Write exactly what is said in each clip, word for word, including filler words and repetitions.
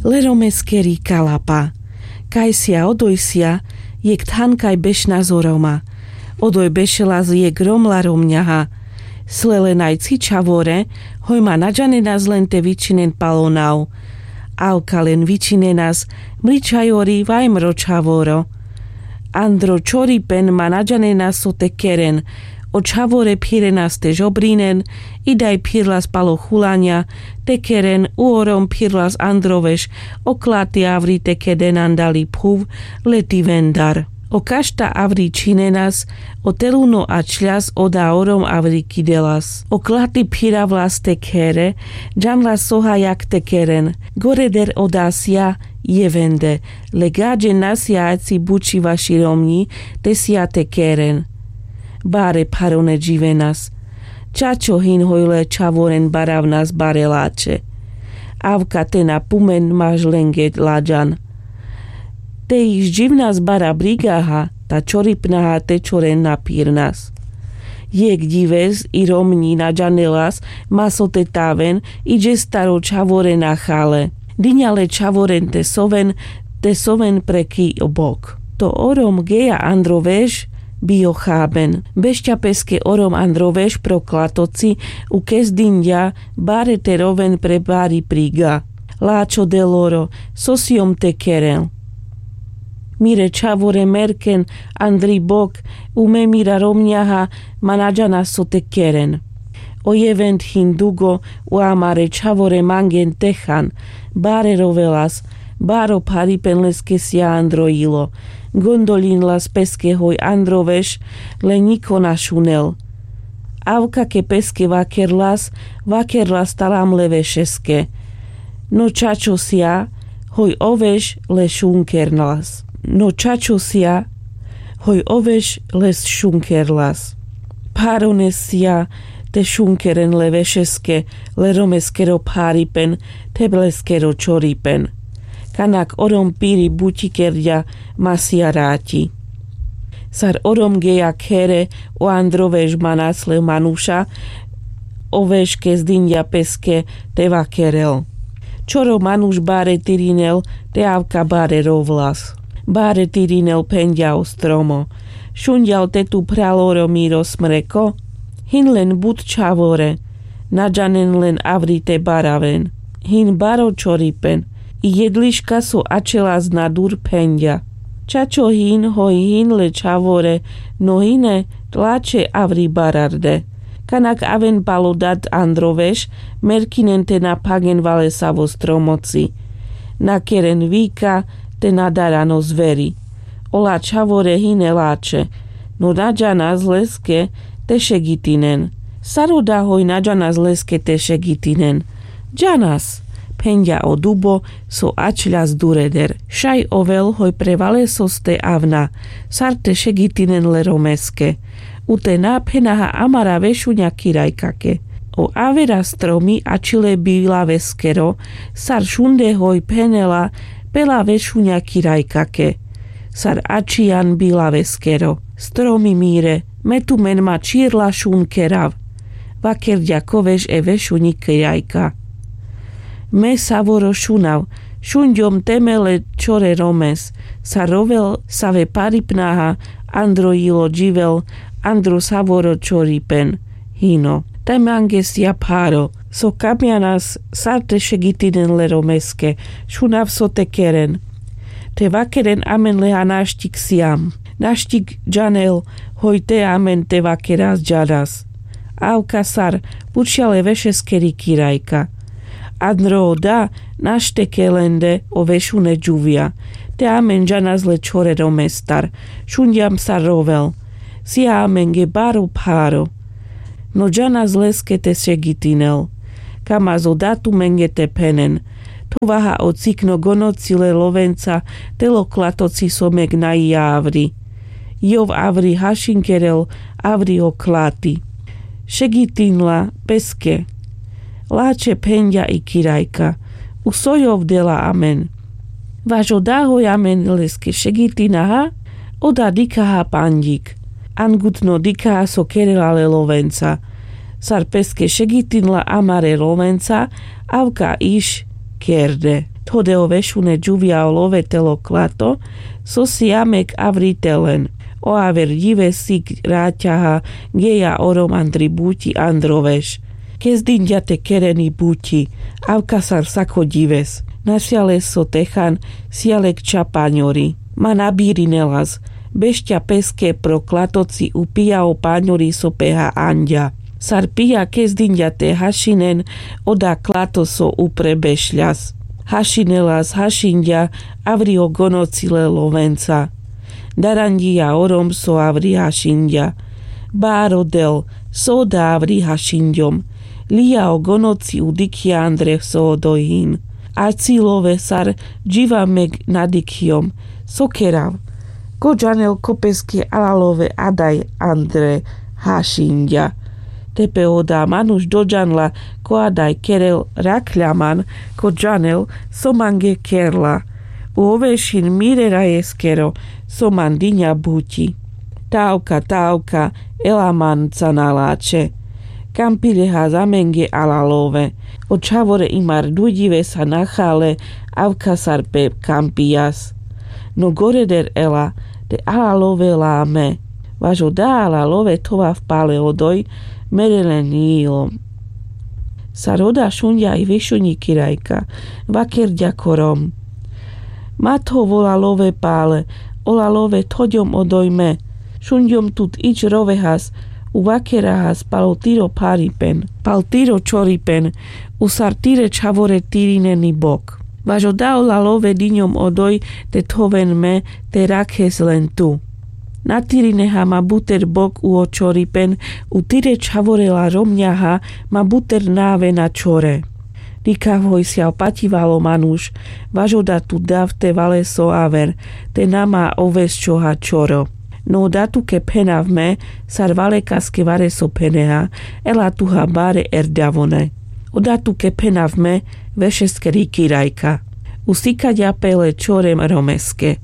Le romeskeri kalapa. Kajsia odojsia jekh thankaj bešnas o roma. Odoj bešelas jekh rom la romňaha. Sle len aj ci čhavore, hoj ma na džanenas len te vičinen pal o nav. Avka len vičinenas: mričajori, vajmro čhavoro. Andro čoripen ma na džanenas so te keren. O čhavore phirenas te žobrinen. Idaj phirlas pal o chulaňa te keren. U o rom phirlas andro veš. O klati avri te keden andali phuv, leti vendar. O kašta avri čhinenas. O teluno ačľas, oda o rom avri kidelas. O klati phiravlas te khere. Džanlas so hajak te keren. Goreder oda sija jevende. Le gaďen na sija aci buči vaši romňi, te sija te keren. Bare pharone dživenas. Čačo hin hoj le čhavoren baravnas bare lačhe. Avka te na pumen maž lenge laďan. Te ich dživnas bara brigaha, ta čoripnaha te čoren na phirnas. Jekh dives i romňi na džanelas ma so te taven, i džestar o čhavore na chale. Diňa le čhavoren te soven, te soven pre ki o bok. To o rom geja andro veš, bi o chaben. Bešťa peske o rom andro veš pro klatoci, u kes diňďa bare te roven pre bari priga. Lačho deloro, so siom te keren. Mire čhavore merken andri bok, u me mira romňaha ma na džanas so te keren. O jevend hin dugo, u amare čhavore mangen te chan. Bare rovelas. Baro pharipen leske sija andro jilo. Gondoľinlas peske hoj andro veš, le ňiko na šunel. Avka ke peske vakerlas, vakerlas talam le vešeske. No čačo sija, hoj o veš le šunkerlas. No čačo sija, hoj o veš le šunkerlas. Pharone sija te šunkeren le vešeske, le romeskero pharipen, te leskero čoripen. Kanak o rom piri buči kerďa, ma sija raťi. Sar o rom geja khere, o andro veš manas le manuša, o veš kes diňďa peske te vakerel. Čoro manuš bare tirinel, te avka bare rovlas. Bare tirinel, phenďa o stromo. Šunďal te tu phral o rom miro smreko? Hin len but čhavore. Na džanen len avri te baraven. Hin baro čoripen. I jedliška so ačhelas na dur, phenďa. Čačo hin hoj hin le čhavore, no hine, lačhe avri bararde. Kanak aven pal o dad andro veš, merkinen te na phagen valesavo stromoci. Na keren vika, te na daran o zveri. Ola čhavore hine lačhe. No na džanas leske te šegitinen. Sar oda hoj na džanas leske te šegitinen? Džanas, phenďa o dubo so ačľas dureder. Šaj ovel hoj pre valesoste avna, sar te šegitinen le romeske. U te na phenaha amara vešuňa kirajkake. O avera stromi ačhile bilaveskero, sar šunde hoj phenela pela vešuňa kirajkake. Sar ačhijan bilaveskero. Stromi mire, me tumen ma čhirla šun kerav. Vakerďa ko veš e vešuňi kirajka. Me savoro šunav, šunďom te me le čhore romes, sar rovel save paripnaha, andro jilo dživel, andro savoro čhoripen. Hino. Te mange sija pharo, so kamjanas sar te šegitinen le romeske, šunav so te keren. Te vakeren amen leha naštik sijam. Naštik džanel hoj te amen te vakeras džanas. Avka sar pučhja le vešeskeri kirajka. Andro oda našteke lende o vešune džuvja. Te amen džanas le čhore romestar. Šunďam sar rovel. Sija amenge baro pharo. No džanas leske te šegitinel. Kamaz oda tumenge te phenen. Thovaha o cikno gonoci le lovenca, tel o klatoci so megnaja avri. Jov avri hašinkerel, avri o klati. Šegitinla peske. Lačhe, phenďa i kirajka. U so jov dela amen? Vaš oda hoj amen leske šegitinaha, oda dikhaha panďik. Angutno dikhaha so kerela le lovenca. Sar peske šegitinla amare lovenca, avka iš kerde. Thode o vešune džuvia o love tel o klato, so si amek avri telen. O aver dives sik raťaha geja o rom andri buti andro veš. Kezdinďa te kereni buti, avka sar sako dives. Nasia le so te chan, sia le kča paňori. Ma na birinelas, bešťa peske pro klatoci upija o paňori so peha anďa. Sar pija kezdinďa te hašinen, oda klato so upre bešľas. Hašinelas hašinďa, avri o gonoci le lovenca. Daranďija o rom so avri hašinďa. Baro del, so oda avri hašinďom. Lija o gonoci u dikhja andre so odoj hin. A ci love sar dživa meg na dikhjom. So kerav? Ko džanel ko peske ala love adaj andre hašinďa. Tepe oda manuš dodžanla ko adaj kerel, rakhľa man ko džanel so mange kerla. U ovešin mire rajeskero so man diňa buti. Tavka, tavka, ela manca na lače. Kampilehas amenge ala love. O čhavore imar dujdivesa nachale, avka sar pe kampijas. No goreder ela, te ala love la ame. Vaš oda ala love thovav pale odoj, mere len ilo. Sar oda šunďa i višuňi kirajka, vakerďa ko rom: Ma thov ola love pale, ola love thoďom odoj me. Šunďom tut ič rovehas, u vakerahas pal o tiro pharipen, pal tiro čoripen, u sar tire čhavore tirineni bok. Vaš oda ola love diňom odoj te thoven me, te rakhes len tu. Na tirineha ma buter bok u o čoripen, u tire čhavore la romňaha ma buter na avena čhore. Dikhav hoj sial paťivalo manuš, vaš oda tu dav te valeso aver, te na ma ovesčoha čhoro. No oda tuke phenav me, sar valekaske vareso pheneha, ela tuha bare erďavone. Oda tuke phenav me, vešeskeri kirajka. Usikaďa pe le čhore romeske.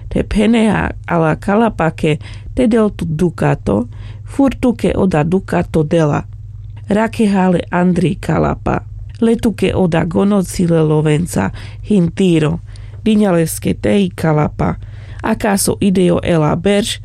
Te pheneha ala kalapake te del tut dukato, fur tuke oda dukato dela. Rakheha le andri kalapa. Le tuke oda gonoci le lovenca hin tiro. Diňa leske te i kalapa. Akaso idejo ela berš,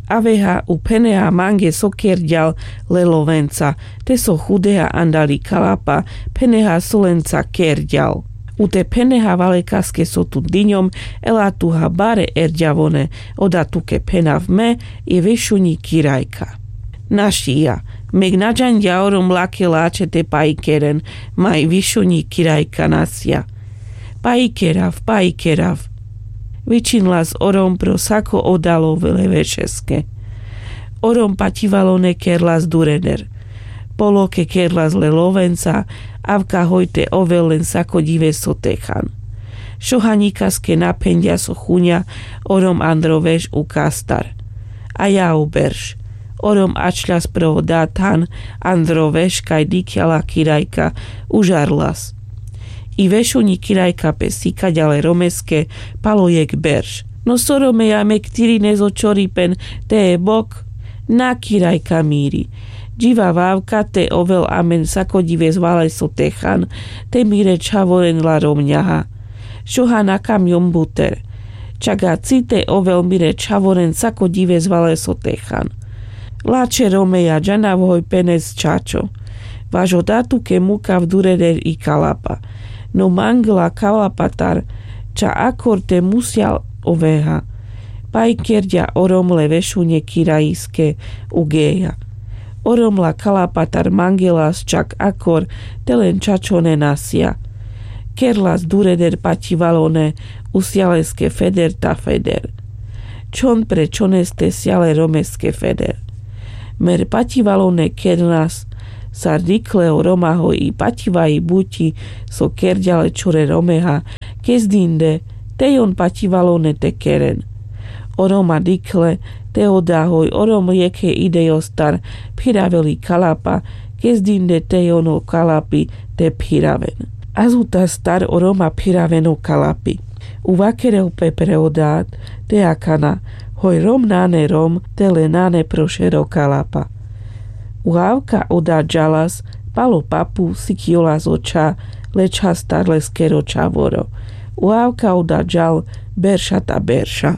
aveha u pheneha mange so kerďal le lovenca, te so chudeha andali kalapa, pheneha so lenca kerďal. U te pheneha valekaske so tut diňom, ela tuha bare erďavone, oda tuke phenav me, i višuňi kirajka. Našija, meg na džanďa o rom lake lače te paikeren, ma i višuňi kirajka nasia. Paikerav, paikerav. Vičinlas o rom pro sako oda love le vešeske. O rom paťivalone kerlas dureder. Poloke kerlas le lovenca, avka hoj te ovel len sako ďives so te chan. Šohaňikaske na phenďa so chuňa o rom andro veš u kastar. A ja u berš. O rom ačľas pro oda than andro veš kaj dikhľa la kirajka, užarlas. I vešuňi kirajka pe sikaďa le romeske pal o jekh berš. No so romeja meg tirines o čoripen, te e bok? Na kirajka miri. Dživav avka te ovel amen sako ďives valeso te chan, te mire čhavoren la romňaha. Šoha na kamňom buter. Čak a ci te ovel mire čhavoren sako ďives valeso te chan. Lače romeja, džanav hoj penes čačo. Vaš oda tuke mukav dureder i kalapa. No mangla kalapatar ča akor te musial oveha. Paikerďa o rom le vešuňe kirajiske u geja. O rom la kalapatar mangelas čak akor te len čačone nasia. Kerlas dureder paťivalone, usia leske feder ta feder. Čhon pre čhoneste sia le romeske feder. Mer paťivalone kernas, sar dikhle o roma hoj i paťivaji buti so kerďa le čhore romeha, kezdinde, tej on paťivalone te keren. O roma dikhle, te oda hoj o rom jekhe idejostar phiraveli kalapa, kezdinde tej on o kalapi te phiraven. Azutastar o roma phiraven o kalapi. U vakerel pe pre oda, te akana, hoj rom nane rom, te le nane pro šero kalapa. U avka oda džalas, pal o papu sikjolas o čha, le čhastar leskero čhavoro. Уав кавда жал берша та берша.